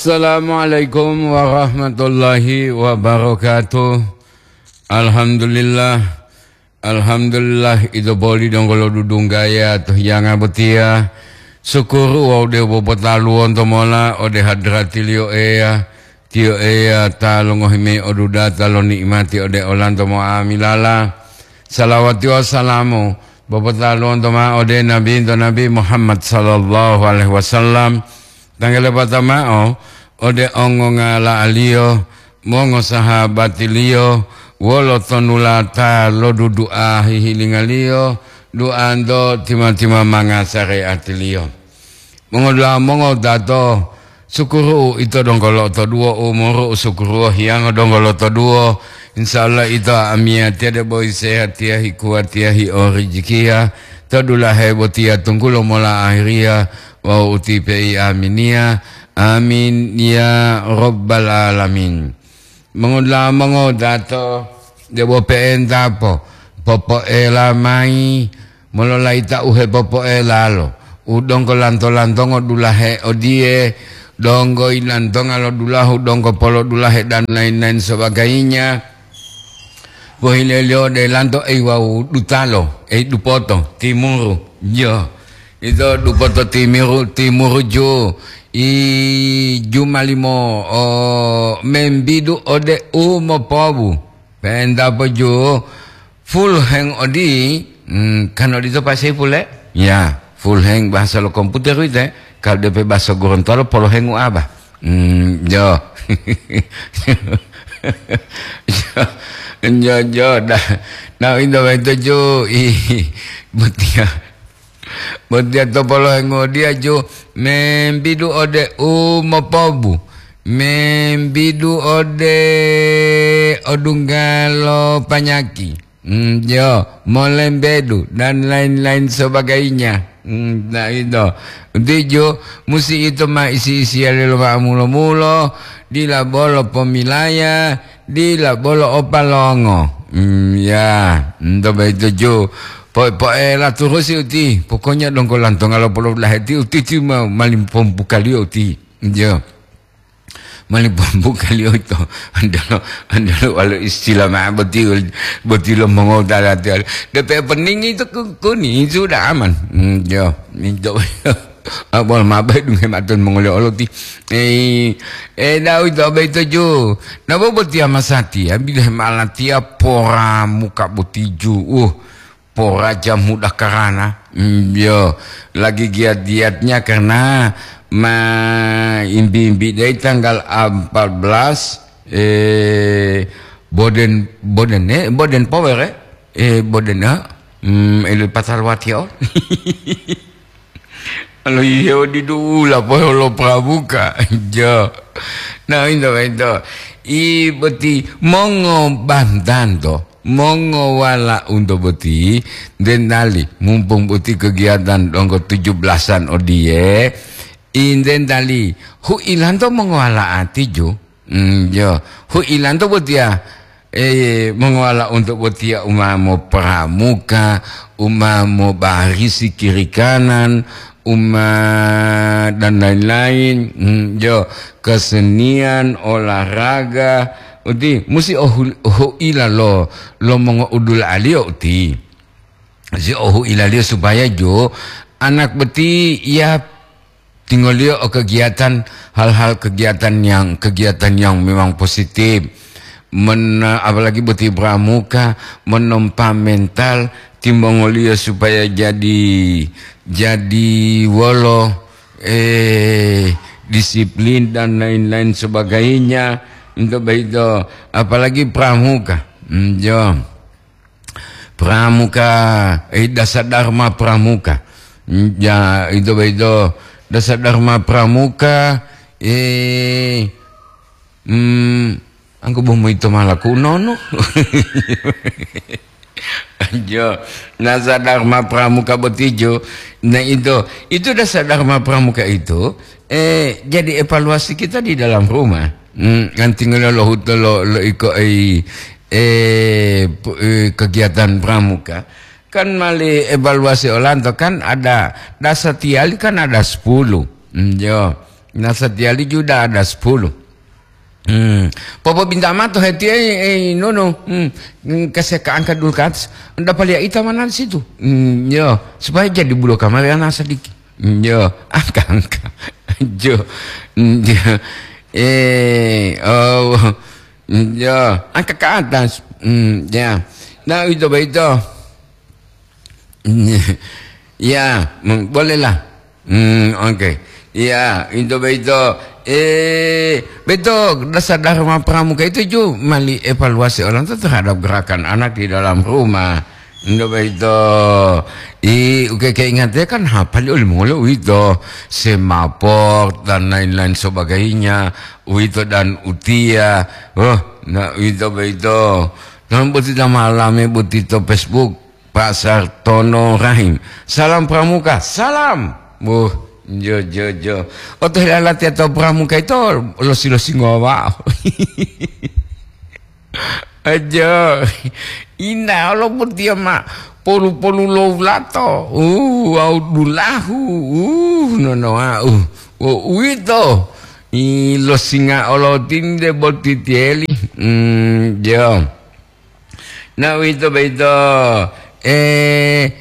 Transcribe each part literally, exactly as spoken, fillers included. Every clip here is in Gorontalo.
Assalamualaikum warahmatullahi wabarakatuh. Alhamdulillah. Alhamdulillah, ito poli donggo lodudunggaya to hiyanga botiya. Sukuru wawu de'u popotaluwonto mola ode hadratiliyo Eya, tiyo Eya ta longohi mayi odudata lo ni'imati ode olanto mo'amilala. Salawati wawu salamu popotaluwonto ma'o ode Nabinto Nabi Muhammad sallallahu alaihi wasallam. Tanggalepata ma'o ode ongongala'aliyo, mongosahabatiliyo, wolo tonulata lo dudu'a hihilingaliyo, du'anto tima-timamanga sare'atiliyo. Mongodula'a mongowutato, sukuru ito donggo lotoduwo, umuru u sukuru hiyango donggo lotoduwo. Insya Allah ito amiyatiya debo sehatiya, hikuwatiya, hi'orijikiya, to dulahe botiya tunggulo mola ahiriya, wawu utipe'i aminiya. Amin ya rabbal alamin. Mongoda'a mongodato, debo pe'entapo, popo'ela mayi, mololayita u hepopo'elalo, u donggo lanto-lantongo dulahe odiye, donggo ilantonga lo dulahu, donggo polodulahe dan lain-lain sebagainya. Pohileliyo ode lanto ei wawu dutalo, ei dupoto, timuru, jo. Ito dupoto timiru, timuru ju, i jumalimo, o, membidu ode u mopobu. Penta poju, full hang odi, hmm, kan odito pasai pule? Ya, full hang bahasa lo komputer uite. Kalau depe bahasa Gorontalo, polo hengu aba. Hmm, jo. Jo, jo, dah. Nah, indo itu ju, i, botia. Botia to polo hengu dia ju, membidu ode u mopobu. Membidu ode odunggalo panyaki. Hmm, jo, molembedu, dan lain-lain sebagainya. Hmm, nah, itu. Tijo, musi ito ma isi-isiya lelo ma'amulo-mulo, dila bolo pomilaya, dila bolo opalongo. Hmm, ya, ento boyito jo. Po-, poela turusi uti. Pokoknya donggo lantonga lo polo laheti uti ti ma-, malimpompu kaliyo uti. Jo. Mani pembukaliyo ito, andelo, andelo walo istilah ma'o boti, boti lo mongotala tiyo. Depe peningi itu ku-, kuni, sudah aman. Hmm, yo, minto. Abol mabe dunge maton mongole oloti. Eh, eh, dau ito abe ito ju. Nabo boti amasati, abide malatia pora muka boti ju. Uh, Poraja muda karana, mm, yo, lagi giat-giatnya karena ma imbi-imbi dai tanggal empat belas, eh, Boden, Boden, eh, Boden Power, eh, eh, Boden, eh, mm, elu patar watio. Alo, iya, didu ula poholo Pramuka. Jo. Nah, into, into. I boti mongo bantanto, mongo wala unto boti, dendali, mumpung boti kegiatan donggo tujuh belasan odiye, indendali, hu ilanto mongo wala ati ju. Mm, yo, hu ilanto botiya, eh, mongowala untuk botiya umamo Pramuka, umamo barisi kiri kanan, uma dan lain-lain. Mm, yo, kesenian, olahraga, uti musi ohu-, ohuila lo, lo mongoudul aliyo uti. Si ohuilaliyo supaya jo anak boti ya tingoliyo o kegiatan, hal-hal kegiatan yang, kegiatan yang memang positif. Men-, apalagi boti Pramuka, menempa mental timongoliyo supaya jadi, jadi wolo, eh, disiplin dan lain-lain sebagainya. Untuk begitu, apalagi Pramuka. Hmm, jo. Pramuka, eh, Dasa Dharma Pramuka. Ya, itu begitu. Dasa Dharma Pramuka, eh, mm, angku bomo ito malaku nono. Jo, Dasa Dharma Pramuka botijo. Nah, itu, itu Dasa Dharma Pramuka itu, eh, jadi evaluasi kita di dalam rumah. Hmm, kan tinggal lo huto lo, lo iko, eh, eh, pu-, eh, kegiatan Pramuka. Kan mali evaluasi olanto kan ada dasa tiali kan ada sepuluh. Hmm, jo. Nasatiyali Yuda ada sepuluh. Hmm. Popo binta mato heti, eh, eh, nono. Hmm. Hmm, kaseka angka dulu ke atas. Nda palia ita mana di situ. Hmm, yo, supaya jadi bulo kamari ana sedikit. Hmm, yo, angka, angka. Jo. Hmm, yo. Eh, oh. Hmm, yo, angka ke atas. Hmm, ya. Nah, itu begitu. Ya, mm, bolehlah. Hmm, oke. Ya, itu begitu. Eh, betul, dasar Dharma Pramuka itu ju mali evaluasi orang itu terhadap gerakan anak di dalam rumah. Itu begitu. I, oke, keingatnya kan hafal oleh mulu itu. Semapor dan lain-lain sebagainya. Itu dan utia. Oh, nah, itu begitu. Dan buti malam buti to Facebook. Pak Sartono Rahim. Salam Pramuka. Salam. Wuh, jo, jo, jo. Oto hilalati atau Pramuka itu losi-losi ngowa. Aja. Ina lo putiya ma. Polu-polu lo ulato. Uh, au dulahu. Uh, nono au. Oh, uwito. I lo singa olo tinde boti tieli. Hmm, jo. Nah, uwito boyito, eh,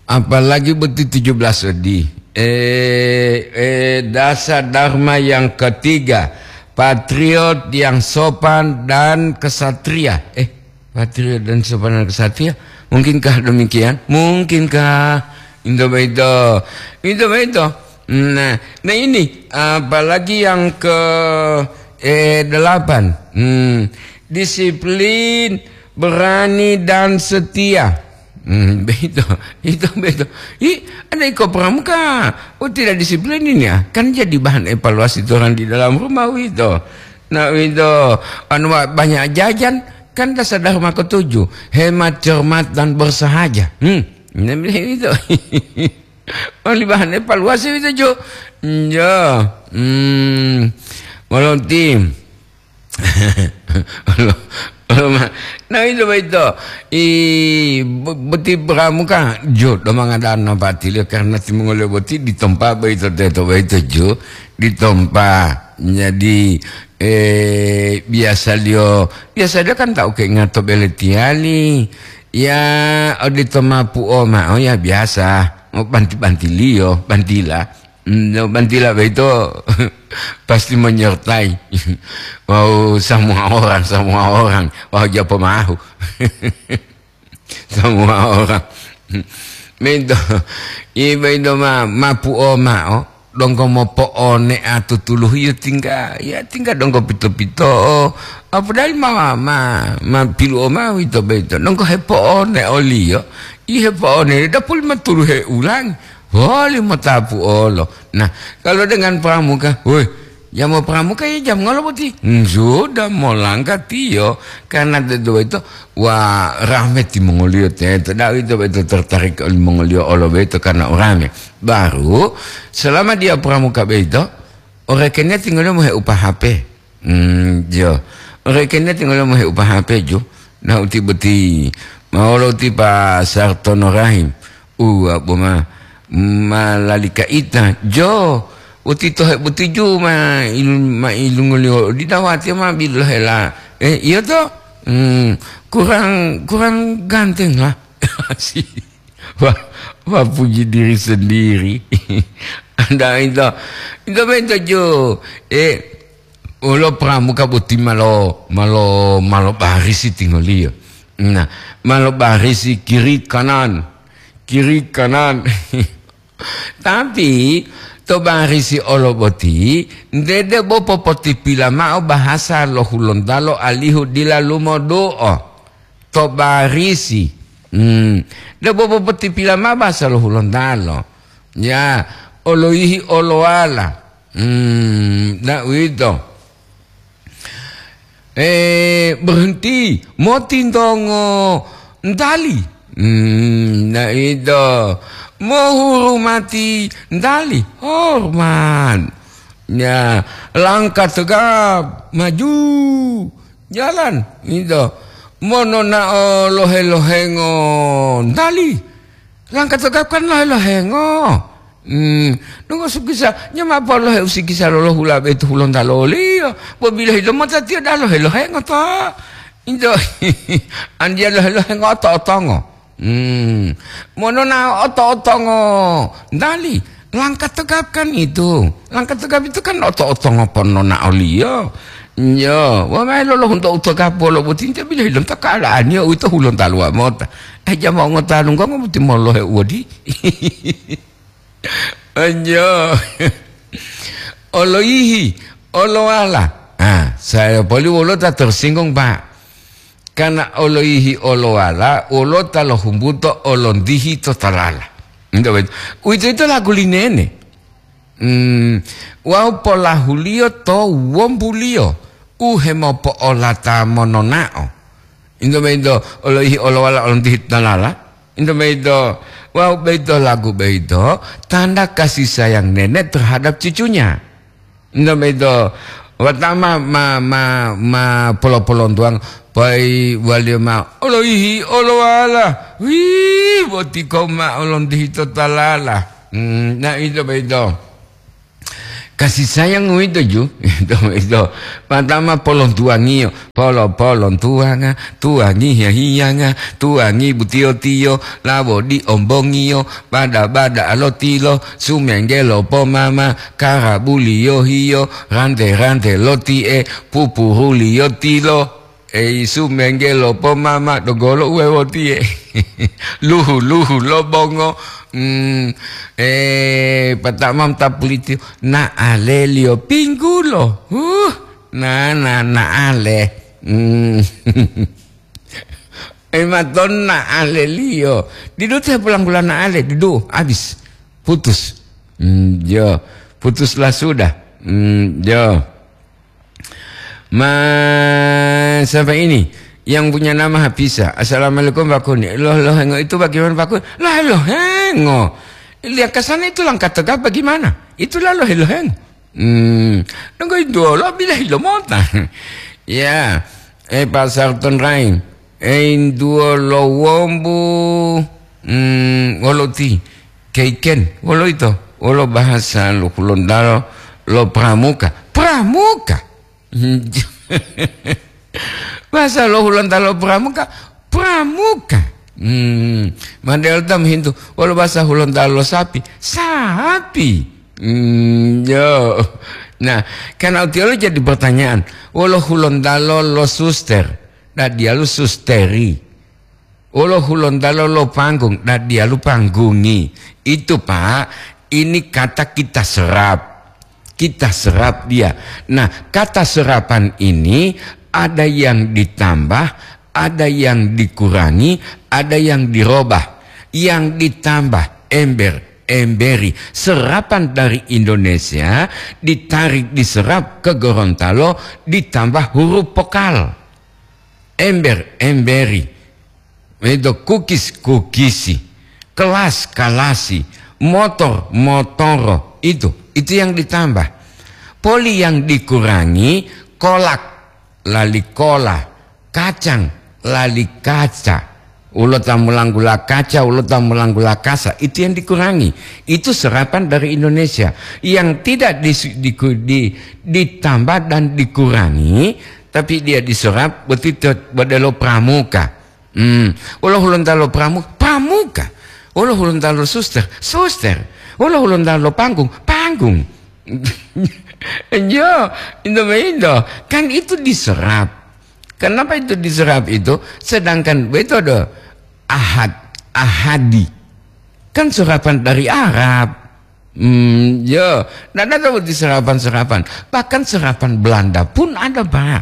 apalagi boti tujuh belas odi. Eh, eh, dasar dharma yang ketiga, patriot yang sopan dan kesatria. Eh, patriot dan sopan dan kesatria. Mungkinkah demikian? Mungkinkah? Itu boyito. Itu boyito. Nah, nah ini, apalagi yang ke, eh, delapan. Hmm, disiplin, berani, dan setia. Hmm, begitu. Itu begitu. Ih, ada iko Pramuka. Oh, tidak disiplin ini ya. Kan jadi bahan evaluasi orang di dalam rumah itu. Nah, itu anu, banyak jajan, kan dasar dharma ketujuh. Hemat, cermat, dan bersahaja. Hmm, nah, itu. Oli bahan evaluasi itu, Jo. Iya. Hmm. Moloti. Olo, olo ma-, nah, itu boyito. I, bo-, boti Pramuka, Jo, do mangadana patiliyo karena timongoliyo boti ditompa boyito teto boyito, Jo. Ditompa. Jadi, eh, biasaliyo, biasaliyo kan tau keingato bele tiyali. Ya, odito mapuo ma'o ya biasa, banti-bantiliyo, bantila. Mm, no, bantila boyito pasti menyertai. Wau, semua orang, semua orang. Wau, japo mahu. Semua orang. Boyito, i boyito ma-, mapuo ma'o. Donggo mopo'one'a tutuluhu, iyo tingga, ya tingga donggo pito-pito'o. Apodali ma, ma, ma pilu'o mao ito boyito. Donggo hepo'one oliyo, i hepo'one dapuli maturu heulangi. Woli motapu olo. Nah, kalau dengan Pramuka, woi, jam Pramuka ya jam ngolo boti? Hmm, sudah molangkah tiyo. Karena teto boyito, wah, rahme timongoliyo teto. Da'u ito boyito tertarik olimongoliyo olo boyito karena urame. Baru, selama dia Pramuka boyito, orekeniya tinggal mohe upa H P. Hmm, jo. Orekeniya tinggal mohe upa H P, jo. Nah, uti boti. Maolo uti Pak Sartono Rahim. Uwa, boma. Malalika ita. Jo. Uti tohe boti ju ma ilu-, ma ilungoliyo. Di dawati ma bilohela. Eh, iya to? Hmm, kurang, kurang ganteng lah. Si. Wah, wah, puji diri sendiri. Anda itu, itu beto jo. Eh, olo Pramuka boti malo, malo, malo barisi tingoliyo. Nah, malo barisi kiri kanan, kiri kanan. Tapi to barisi olo boti, nte debo popotipila ma'o bahasa lo Hulontalo alihu dila lumodu'o. To barisi. Hmm. Debo popotipila mao bahasa lo Hulontalo. Ya, oloyihi olowala. Hmm, na uwito. Eh, berhenti, motintongo ntali. Hmm, na ito. Mohurumati ntali, hormat. Ya, langkah tegap, maju. Jalan, ito. Mononao lohe-lohengo ntali. Langkah tegap kan lohe-lohengo. Hmm, nungo sukisa, nyama polohe usikisa lolohula betu hulonta loliyo. Bo bilohi lomota tiyo dalo helohengo to. Into, andiya lohelohengo oto-otongo. Hmm, monona oto-otongo. Dali, langka tegap kan itu. Langka tegap itu kan oto-otongo ponona oliyo. Yo, wamae lolohunto utegap bolo boti, inte bilohi lonta keadaannya uwito hulonta luwa mota. Eh, jama ngota lunggongo boti molohe uwodi. Anjo. Oloyihi, olowala. Ah, saya poli wolo ta tersinggung, Pak. Karena oloyihi olowala, wolo ta lohumbuto olondihi to talala. Nto beto. Uwito-ito lagu linene. Hmm, wawu polahuliyo to wombuliyo u hemopo'olata mononao. Into boyito oloihi olowala olontihi dalala. Into boyito, wawu boyito lagu boyito tanda kasih sayang nenek terhadap cucunya. Into boyito, watama ma, ma, ma polo-polontuwang, pai waliyo ma oloihi olowala. Wih, boti kau ma olontihi to talala. Hmm, nah, into boyito. Kasih sayang uwito ju, ito, ito. Patama polontuwangiyo, polo-polontuwanga, tuwangi hiya-hiyanga, tuwangi butiyo-tiyo, lawo di ombongiyo, bada-bada lotilo, sumenggelo pomama, karabuliyo hiyo, rante-rante loti'e, pupuruliyo tilo. Ei, sumenggelo pomama dogolo uwewotiye. Luhu-luhu lo bongo. Mm, eh, patamam tapulitiyo. Na'aleliyo pinggulo. Huh, na, na, na'ale. Mm. Ematon na'aleliyo. Didu te pulanggula na'ale, didu, habis. Putus. Mm, yo. Putuslah sudah. Mm, yo. Ma, siapa ini? Yang punya nama Hafisa. Assalamualaikum, Pak Kuni. Loh, lohengo itu bagaimana, Pak Kuni? Lah, lohengo. Lihat ke sana itu langkah tegap bagaimana? Itulah lohe-lohengo. Hmm, nunggu itu lo bilahi lo mota. Ya, eh, Pak Sarton Rain. Eh, induo lo wombu, hmm, wolo ti. Keiken, wolo ito? Wolo bahasa lo Hulontalo lo pramuka. Pramuka! Bahasa lo Hulontalo pramuka, pramuka. Hmm, Mandela tam hintu, wolo bahasa Hulontalo lo sapi, sapi. Hmm, yo. Nah, karena utiolo jadi pertanyaan, wolo Hulontalo lo suster, nah dialu susteri. Wolo Hulontalo lo panggung, nah dialu panggungi. Itu, Pak, ini kata kita serap. Kita serap dia. Nah, kata serapan ini ada yang ditambah, ada yang dikurangi, ada yang dirobah. Yang ditambah ember, emberi. Serapan dari Indonesia ditarik, diserap ke Gorontalo, ditambah huruf vokal. Ember, emberi. Itu kukis, kukisi. Kelas, kalasi. Motor, motoro. Itu, itu yang ditambah. Poli yang dikurangi, kolak, lali kola. Kacang, lali kaca. Ulo ta mulanggula kaca, ulo ta mulanggula kasa. Itu yang dikurangi. Itu serapan dari Indonesia. Yang tidak dis-, diku-, di-, ditambah dan dikurangi, tapi dia diserap, boti to-, bodelo pramuka. Hmm. Wolo Hulontalo pramu-, pramuka. Wolo Hulontalo suster, suster. Wolo Hulontalo panggung, panggung. Yo, indo maindo. Kan itu diserap. Kenapa itu diserap itu? Sedangkan betul do ahad, ahadi. Kan serapan dari Arab. Hmm, ya, ndak ada seperti serapan-serapan. Bahkan serapan Belanda pun ada, Pak.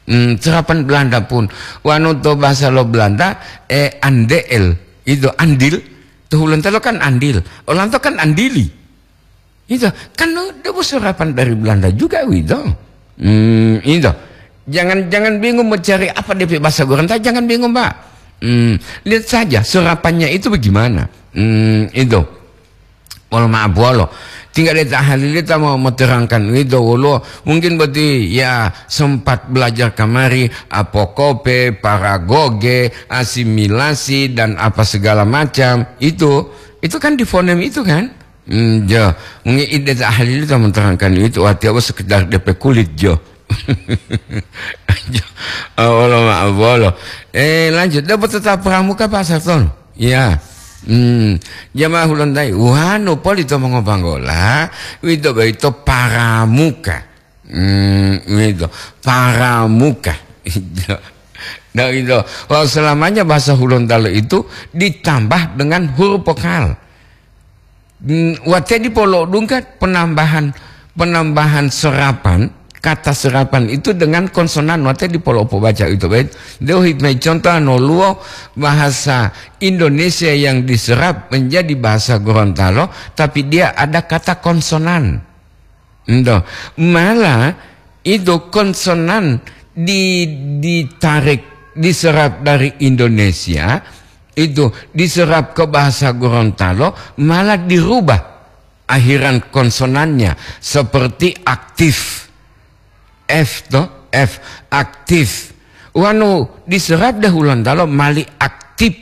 Hmm, serapan Belanda pun. Wanu to bahasa lo Belanda, eh, andeel. Itu andil. To Hulontalo kan andil. Olanto kan andili. Itu kan lo, debo serapan dari Belanda juga, wito. Hmm, itu. Jangan, jangan bingung mencari apa D P bahasa Gorontalo, jangan bingung, Pak. Hmm, lihat saja serapannya itu bagaimana. Hmm, itu. Wolo ma'o bolo. Tinggal deta halili ta mo-, moterangkan uwito woluwo. Mungkin boti, ya, sempat belajar kamari, apokope, paragoge, asimilasi, dan apa segala macam. Itu, itu kan di fonem itu kan? Hmm, jo. Ngi ide ta ahli itu menerangkan itu, wati apa sekedar D P kulit, jo. Jo. Oh, wolo ma'o bolo. Eh, lanjut. Dapat tetap pramuka, Pak Sartono. Ya. Hmm. Jamaah Hulontai, wanu poli to mongobanggola, wito boyito paramuka. Hmm, wito. Paramuka. Nah, gitu. Wah, selamanya bahasa Hulontalo itu ditambah dengan huruf vokal. Hmm, wate dipolodungka penambahan, penambahan serapan, kata serapan itu dengan konsonan, wate dipolopobaca itu, baik. Deu hikmah contoh anoluwo bahasa Indonesia yang diserap menjadi bahasa Gorontalo, tapi dia ada kata konsonan. Ento, malah itu konsonan di-, ditarik, diserap dari Indonesia, itu diserap ke bahasa Gorontalo, malah dirubah akhiran konsonannya seperti aktif. F to, F, aktif. Wanu diserap deh Hulontalo mali aktip,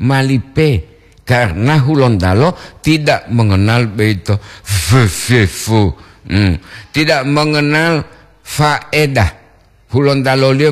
mali P. Karena Hulontalo tidak mengenal beito V, V, V. Hmm. Tidak mengenal faedah. Hulontalo liyo